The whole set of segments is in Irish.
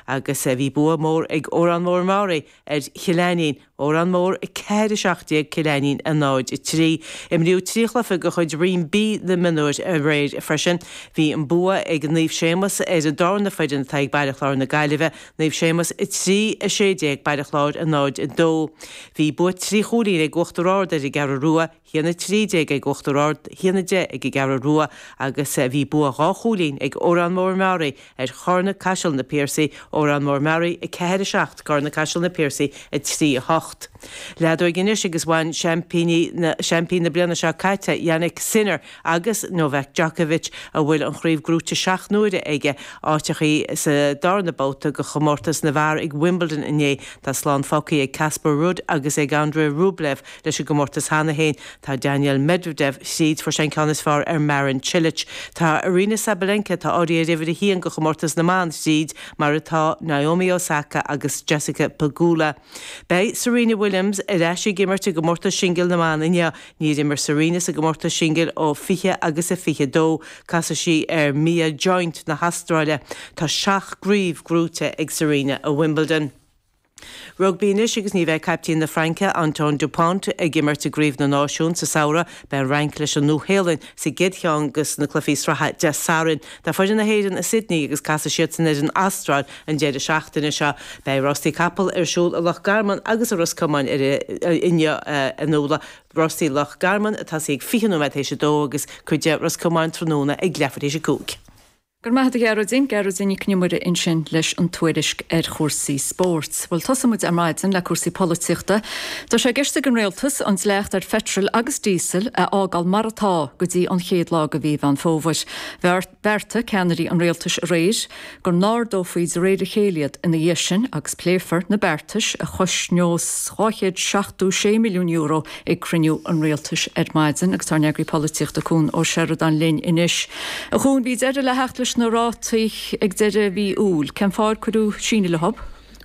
Agus bhí bua mór ag Órán Mór Meáraí ar Chill Ainnín, Órán Mór 4, 17, Cill Ainnín 0, 3. Imríodh 3 chluiche de chuid Roinn B na Mionúir aréir freisin. Bhí an bua ag Naomh Séamus ar an darna foireann atá ag Baile Chláir na Gaillimhe, Naomh Séamus 3, 16, Baile Chláir 0, 2. Bhí bua 3 chúilín ag Uachtar Ard ar an gCeathrú Rua, 1, 13 ag Uachtar Ard, 1, 10 ag an gCeathrú Rua agus bhí bua 2 chúilín ag Órán Mór Meáraí ar Charna Caiseal Na Piarsaigh, Órán Mór Meáraí 4, 7, Carna Caiseal Na Piarsaigh 3, 8. Leadóig anois agus bhain seaimpíní na seaimpín na bliana seo caite Jannik Sinner agus Novak Djokovic, a bhfuil an chraobh gnóite 7 n-uaire aige, áiteachaí sa darna babhta de chomórtas na bhfear ag Wimbledon inné. Tá slán fágtha ag Casper Ruud agus ag Andrei Rublev leis an gcomórtas cheana féin. Tá Daniil Medvedev thríd, fuair sé an ceann is fearr ar Marin Cilic. Tá Aryna Sabalenka, atá áirithe ar uimhir a haon do chomórtas na mban, thríd, mar atá Naomi Osaka agus Jessica Pegula. Beidh Serena Williams ar ais ag imirt i gcomórtas singil na mban inniu. Níor imir Serena sa gcomórtas singil ó 20 agus a 22. Casfaidh sí ar Mia Joint na hAstráile. Tá 7 gcraobh gnóite ag Serena i Wimbledon. Rugbaí anois agus ní bheidh caiptín na Fraince, Antoine Dupont, ag imirt i gCraobh na Náisiún sa samhradh. Beidh an Fhrainc leis an Nua-Shéalainn sa gcéad cheann de na cluichí sraithe Dé Sathairn. Tá foireann na hÉireann i Sydney agus casfaidh siadsan ar an Astráil an deireadh seachtaine seo. Beidh rástaí capall ar siúl i Loch Garman agus i Ros Comáin inniu a Nuala. Rástaí Loch Garman ag tosaí ag 20 nóiméad théis a dó agus cuid de Ros Comáin tráthnóna ag leathuair théis a 5. Go raibh maith agat a Ghearóidín, Gearóidín Nic Con Iomaire ansin leis an tuairisc ar chúrsaí spóirt. Bhuel, tosóidh muid ar maidin le cúrsaí polaitíochta. Tá sé i gceist ag an Rialtas an dleacht ar pheitreal agus díosal a fhágáil mar atá go dtí an chéad lá de mhí Mheán Fómhair. Bheartaigh ceannairí an rialtais aréir go n-ardófaí de réir a chéile iad ina dhiaidh sin agus pléifear na beartais a chosnós €276 milliún ag cruinniú an rialtais ar maidin agus tá ár n-eagraí polaitíochta Cuan Ó Seireadáin linn anois. A Chuain, bhí deireadh le theacht leis na rátaí ag deireadh mhí Iúil. Cén fáth ar cuireadh síneadh leo?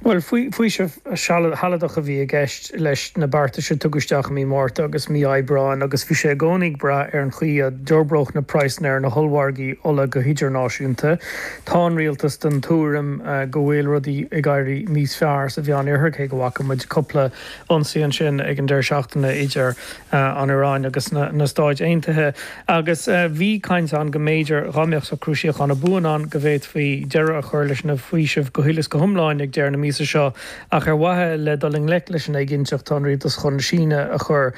Bhuel, faoiseamh sealadach a bhí i gceist leis na beartais a tugadh isteach i mí Márta agus mí Aibreáin agus bhí sé i gcónaí ag brath ar an chaoi a d'fhorbródh na praghsanna ar na hollmhargaí ola go hidirnáisiúnta. Tá an rialtas den tuairim go bhfuil rudaí ag éirí níos fearr sa Mheánoirthear, cé go bhfaca muid cúpla ionsaí ansin ag an deireadh seachtaine idir an Iaráin agus na Stáit Aontaithe agus bhí caint ann go mb'fhéidir, dhá mbeadh socrú síochána buan ann, go bhféadfaí deireadh a chur leis na faoisimh go huile is go hiomlán ag deireadh na míosa seo ach ar mhaithe le dul i ngleic leis an éiginnteacht tá an rialtas chun síneadh a chur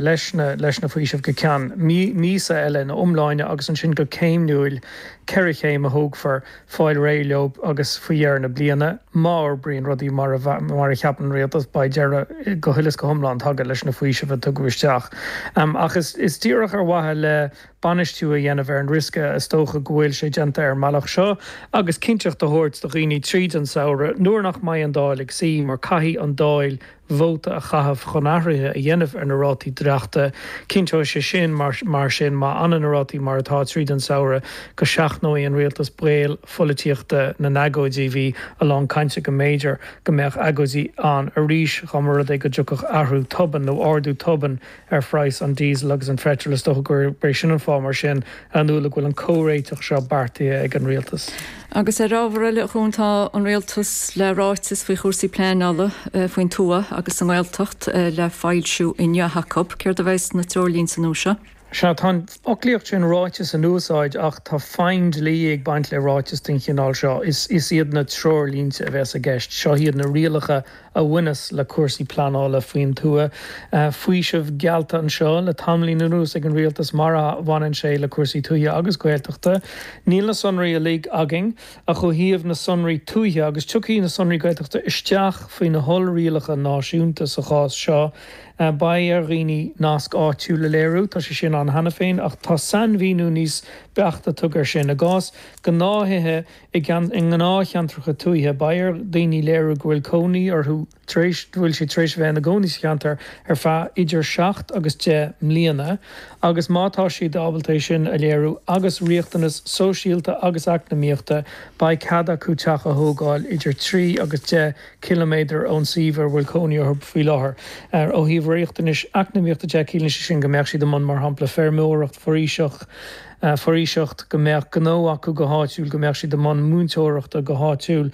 leis na leis na faoisimh go ceann míosa eile ina iomláine agus ansin go céimniúil, 4 chéim a thógfar. fáil réidh leo agus faoi dheireadh na bliana, má fhorbraíonn rudaí mar a mar a cheapann an rialtas, beidh deireadh go huile is go hiomlán tagtha leis na faoisimh a tugadh isteach. Ach is is díreach ar mhaithe le bainistiú a dhéanamh ar an riosca is dócha go bhfuil sé déanta ar an mbealach seo agus cinnteacht a thabhairt do dhaoine tríd an samhradh nuair nach mbeidh an Dáil ag suí mar caithfidh an Dáil vóta a chaitheamh chun athruithe a dhéanamh ar na rátaí dleachta. Cinnteoidh sé sin, mar sin, má fhanann na rátaí mar atá tríd an samhradh, go seachnóidh an rialtas baol pholaitíochta na n-agóidí. Bhí a lán cainte go mb'fhéidir go mbeadh agóidí ann arís dá mba rud é go dtiocfadh athrú tobann nó ardú tobann ar phraghas an diesel agus an pheitril. Is dócha gurb é sin an fáth, mar sin, a Fhionnuala, go bhfuil an comhréiteach seo beartaithe ag an rialtas. Agus ar ábhar eile, a Chuain, tá an rialtas le ráiteas faoi chúrsaí pleanála faoin tuath agus sa nGaeltacht le foilsiú inniu acu. Céard a bheidh sna treoirlínte nua seo? Sea, tá an fhoclaíocht sin ráiteas in úsáid ach tá feidhm dlí ag baint le ráiteas den chineál seo. Is iad na treoirlínte a bheas i gceist. Seo iad na rialacha a bhaineas le cúrsaí pleanála faoin tuath. Faoiseamh geallta anseo le tamaillín anuas ag an rialtas mar a bhaineann sé le cúrsaí tuaithe agus Gaeltachta. Níl na sonraí uilig againn ach ó thaobh na sonraí tuaithe, agus tiocfaidh na sonraí Gaeltachta isteach faoi na hollrialacha náisiúnta sa chás seo, beidh ar dhaoine nasc áitiúil a léiriú, tá sé sin ann cheana féin ach tá sainmhíniú níos beaichte tugtha air sin. I gcás gnáth-thithe, I ngnáthcheantracha tuaithe, beidh ar dhaoine léiriú go bhfuil cónaí orthu tar éis, go bhfuil siad tar éis a bheith ina gcónaí sa cheantar ar feadh idir 7 agus 10 mbliana agus má tá siad ábalta é sin a léiriú agus riachtanas sóisialta agus eacnamaíochta, beidh cead acu teach a thógáil idir 3 agus 10 ciliméadar ón suíomh ar bhfuil cónaí orthu faoi láthair. Ó thaobh riachtanais eacnamaíochta de, ciallaíonn sé sin go mbeadh siad i mbun, mar shampla, feirmeoireacht, foraoiseacht. foraoiseacht, go mbeadh gnó acu go háitiúil, go mbeadh siad i mbun múinteoireachta go háitiúil.